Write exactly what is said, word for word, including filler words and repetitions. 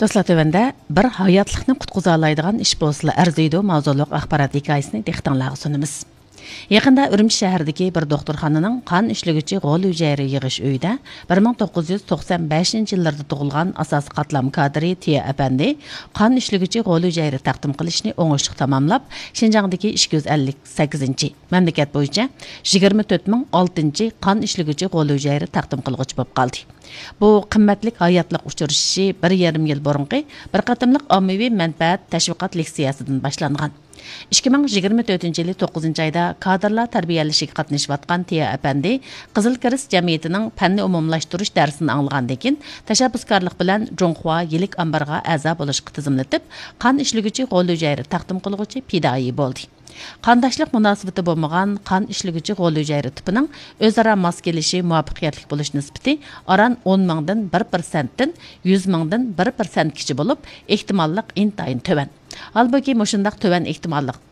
دوستلار، تۆۋەندە بىر ھاياتلىقنى قۇتقۇزالايدىغان ئىش بولسىلا ئەرزىيدۇ ماۋزۇلۇق ئاخبارات ھېكايىسىنى دىققىتىڭلارغا سۇنىمىز. يېقىندا ئۈرۈمچى شەھىرىدىكى بىر دوختۇرخانىنىڭ قان ئىشلىگۈچى غول ھۈجەيرە يىغىش ئۆيىدە بىر مىڭ توققۇز يۈز توقسان بەشىنچى يىللىرىدا تۇغۇلغان ئاساسىي قاتلام كادىرى تىيا ئەپەندى قان ئىشلىگۈچى غول ھۈجەيرە تەقدىم قىلىشنى ئوڭۇشلۇق تاماملاپ، شىنجاڭدىكى ئىككى يۈز ئەللىك سەككىزىنچى، مەملىكەت بويىچە يىگىرمە تۆت مىڭ ئالتىنچى قان ئىشلىگۈچى غول ھۈجەيرە تەقدىم قىلغۇچى بولۇپ قالدى. بۇ قىممەتلىك ھاياتلىق ئۇچرىشىشى بىر يېرىم يىل بۇرۇنقى بىر قېتىملىق ئاممىۋى مەنپەئەت تەشۋىقات لېكسىيەسىدىن باشلانغان. ئىككى مىڭ يىگىرمە تۆتىنچى يىلى توققۇزىنچى ئايدا كادىرلار تەربىيەلىشىگە قاتنىشىۋاتقان تىيا ئەپەندى قىزىل كىرېست جەمئىيىتىنىڭ پەننى ئومۇملاشتۇرۇش دەرسىنى ئاڭلىغاندىن كېيىن، تەشەببۇسكارلىق بىلەن جۇڭخۇا يىلىك ئامبىرىغا ئەزا بولۇشقا تىزىملىتىپ، قان ئىشلىگۈچى غول ھۈجەيرە تەقدىم قىلغۇچى پىدائىي بولدى. قانداشلىق مۇناسىۋىتى بولمىغان قان ئىشلىگۈچى غول ھۈجەيرە تىپىنىڭ ئۆزئارا ماس كېلىشى، مۇۋەپپەقىيەتلىك بولۇش نىسبىتى ئاران ئون مىڭدىن بىر پىرسەنتتىن يۈز مىڭدىن بىر پىرسەنتكىچە بولۇپ، ئېھتىماللىق ئىنتايىن تۆۋەن. ھالبۇكى، مۇشۇنداق تۆۋەن ئېھتىماللىق